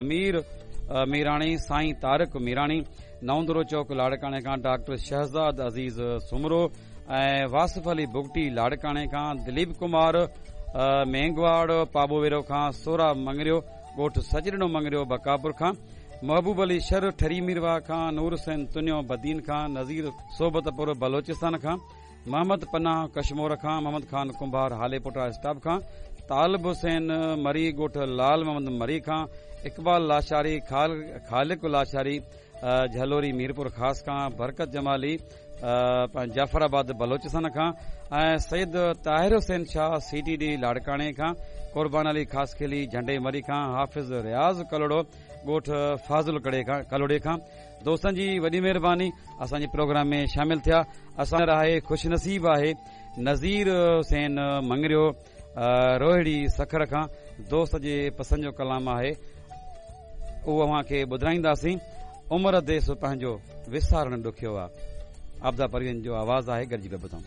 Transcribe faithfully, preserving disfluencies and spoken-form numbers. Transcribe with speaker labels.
Speaker 1: مير ميراڻي، سائين طارق ميراڻي، نئون دڙو چوڪ لاڙڪاڻي کان ڊاڪٽر شهزاد عزيز سومرو ۽ واصف علي بگٽي لاڙڪاڻي کان، دليپ ڪمار مينگواڙ پاٻوويرو کان، سورا مڱريو ڳوٺ سچڏنو مڱريو بڪاپور کان، محبوب علي شر ٺري ميرواهه کان، نور حسين تنيو بدين کان، نذير صحبتپور بلوچستان کان، محمد پناهه ڪشمور کان، محمد خان ڪنڀار هاليپوٽا اسٽاپ کان، طالب حسين مري ڳوٺ لال محمد مري کان، اقبال لاشاري، خالق لاشاري جهلوري ميرپور خاص کان، برڪت جمالي جعفر آباد بلوچستان کان ۽ سيد طاهر حسين شاهه سي ٽي ڊي لاڙڪاڻي کان، قربان علي خاصخيلي جهنڊي مري کان، حافظ رياض ڪلهوڙو ڳوٺ فاضل ڪلهوڙي کان. دوستن جي وڏي مهرباني اسان جي پروگرام ۾ شامل ٿيا. اسان آهي خوش نصيب آهي نذير حسين مڱريو روهڙي سکر کان، دوست جي پسند جو ڪلام آهي، اهو اوهان کي ٻڌائينداسين. عمر ديس پنهنجو وسارڻ ڏکيو آ، عابده پروين جو آواز آهي، گڏجي پيا ٻڌون.